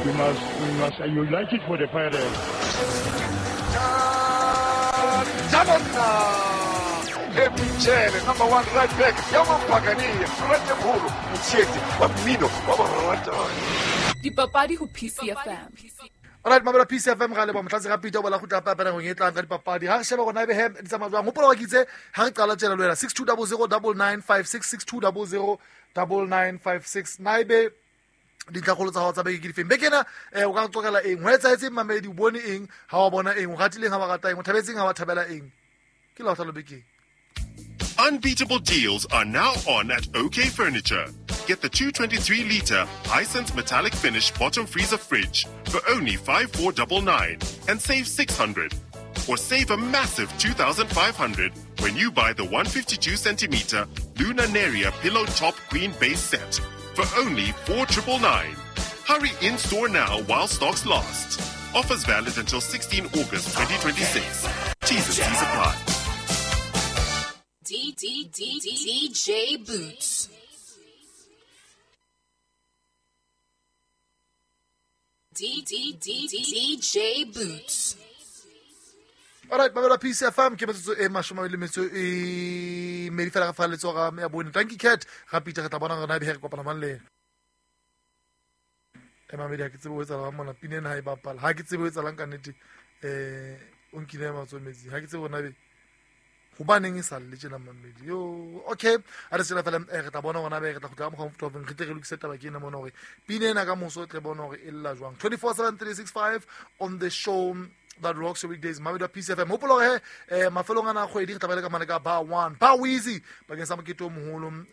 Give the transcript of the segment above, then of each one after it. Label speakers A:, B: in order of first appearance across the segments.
A: We must unite it for the Pirates.
B: Happy number one right back ya mapakania ratemholo motsheetsi wa mmino wa boratani.
C: Dipapadi ho PCFM.
D: Alright, mamela Peace FM ga leba motlatsi ga Peter bola gutla papa nakong e tlang ka dipapadi. Ha re sheba gona ebe he di tsamaya jwang. Hopola wa kitse ha re qala tjena le wena 6200 9956, 6200 9956. Na ebe dintlhakgolo tsa hao tsa beke ke difeng beke ena? O ka re qoqela eng ho etsahetseng, mamedi? O bone eng ha wa bona eng? O ratileng ha wa rata eng? O thabetseng ha wa thabela eng? Ke laotlhalo bekeng.
E: Unbeatable deals are now on at OK Furniture. Get the 223 litre Hisense metallic finish bottom freezer fridge for only 5499 and save 600. Or save a massive 2500 when you buy the 152 centimeter Luna Neria pillow top queen base set for only 4999. Hurry in store now while stocks last. Offers valid until 16 August 2026. T's and C's apply.
C: D D D D DJ Boots. D D D D DJ Boots.
D: Alright, mamela Peace FM, ke metsotso e 22 fela ga fa letsoga ya bone. Thank you, Cat ga Peter. Re tla bona gore na ebe he re kopana mang le ena. E mamedi, ha ke tsebe ho etsahalang mona. Pina ena ha e bapala, ha ke tsebe ho etsahalang ka nnete. O nkile matsoho metsing, ha ke tsebe hore na ebe hobaneng e sa lle tjena, mamedi yo. Okay, a re tsela fela, re tla bona gona be re tla kgutla ka mokgwa mofuta ofeng, re tle re lokise taba ke ena mona hore pina ena ka moso o tle bone hore e lla jwang. 247 365 on the show that rocks your weekdays, mamedi wa Peace FM. Hopola hore mafelong ana a kgwedi re tla ba le ka mane ka Bar One, Bar Weezy, bakeng sa mokete o moholo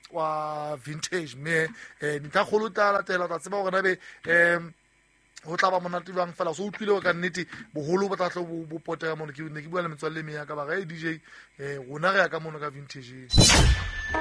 D: wa vintage, mme dintlhakgolo tla latela. O tla tseba hore na be ho tla ba monate jwang fela. So utlwile ka nnete boholo bo tla tlo bo potega mono. Ke ne ke bua le metswalle e meng ya ka ba re, "Hey, DJ, rona re ya ka mono ka vintage."